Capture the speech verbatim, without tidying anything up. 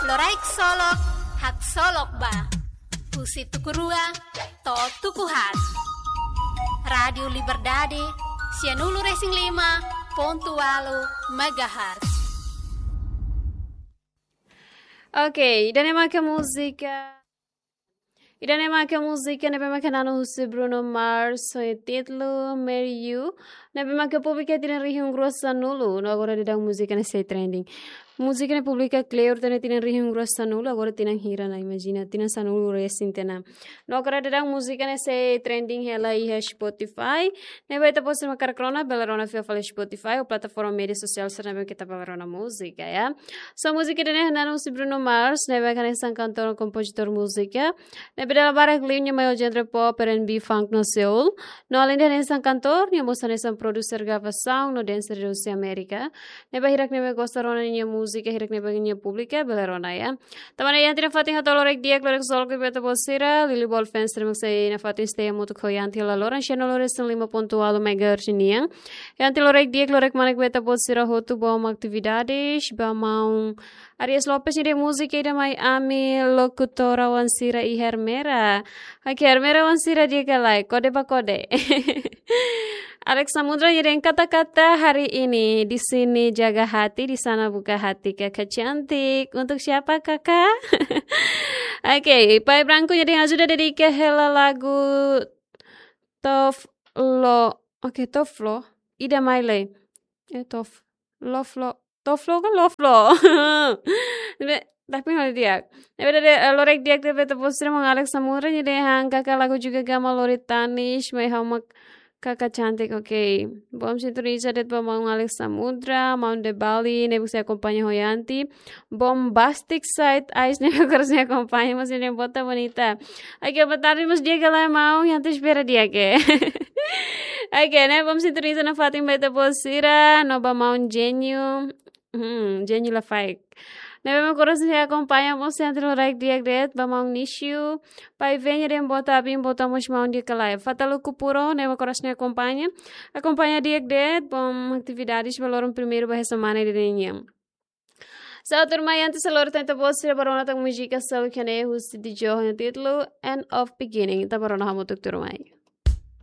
Loraik Solok, haksolok ba. Husi tuku rua to'o tuku haat. Rádiu Liberdade, sianulu-resin-lima pontu ualu megahertz. Oke, ida-ne'e maka múzika. Ida-ne'e maka múzika ne'ebé maka na'an husi Bruno Mars, ho títulu Marry You, ne'ebé maka publika tinan rihun rua sanulu, no agora daudaun múzika ne'e sei trending. Múzika ne'e publika kleur tiha tinan rihun rua sanulu, agora tinan hira ona, imajina, tinan sanulu-resin tiha ona. No agora daudaun múzika ne'e sei trending hela iha Spotify, ne'ebé ita-boot sira mak hakarak rona, bele rona fila fali Spotify, ou plataforma média sosiál sira ne'ebé ita bele rona múzika, ya. So múzika ida-ne'e na'an husi Bruno Mars, ne'ebé hanesan kantór, kompozitór múzika. Ne'ebé dala barak liu nia mai ho genre pop, R and B, funk no soul. No alende hanesan kantór, nia mós hanesan produser gravasaun no dancer husi Amérika. Ne'ebé hirak ne'ebé gosta rona nia múzika, hirak ne'ebé nia publika, bele rona, ya. Tanba ne'e Yanti nafatin hato'o loraik di'ak, loraik solok ba ita-boot sira, Lili Ball fans sira mak sei nafatin stay hamutuk ho Yanti laloran sianulu-resin-lima pontu ualu megahertz nian. Yanti loraik di'ak, loraik manek ba ita-boot sira hotu, bom atividades ba maun Aries Lopes nia dehan múzika ida mai ami lokutora wainhira iha Ermera. Oke, Ermera wainhira di'ak ka lae, kode ba kode. Alex Samudra nia dehan kata-kata hari ini, di sini jaga hati, di sana buka hati, kakak cantik. Untuk siapa, kakak? Oke, Pai Branco nia dehan ajuda dedika hela lagu Tof Lo. Oke, Tof Lo. Ida mai lai. Eh, Tof Lo Flo. Tof Lo ka Lo Flo? Ne'ebé, tapi hal di'ak. Ne'ebé dadaun, eh, loraik di'ak ba ita-boot sira, maun Alex Samudra nia dehan kakak lagu juga gama lori tanis, mai ha'u mak kakak cantik, oke. Bom sintoniza de'it ba maun Alex Samudra, maun De Bali, ne'ebé sei akompaña ho Yanti. Bombastic Side Eyes ne'ebé agora sei akompaña, mas nia dehan boa tarde bonita. Oke, boa tarde mós di'ak ka lae maun, Yanti espera di'ak. Oke, ne'e bom sintoniza nafatin ba ita-boot sira, no ba maun Genio. Hmm, Genio Lafaek. Ne'ebé mak agora sei akompaña mós Yanti loraik di'ak de'it, ba maun Nishu. Pai Venha dehan boa tarde, boa tarde mós maun di'ak ka lae. Fataluku Puro, ne'ebé mak agora sei akompaña. Akompaña di'ak de'it, bom atividades ba loron primeiru ba semana ida-ne'e nian. Sá, tuirmai, antes de lori tan ita-boot sira bá rona tan múzika seluk iha ne'e husi Dee Jones ho títulu End of Beginning. Ita bá rona hamutuk tuirmai.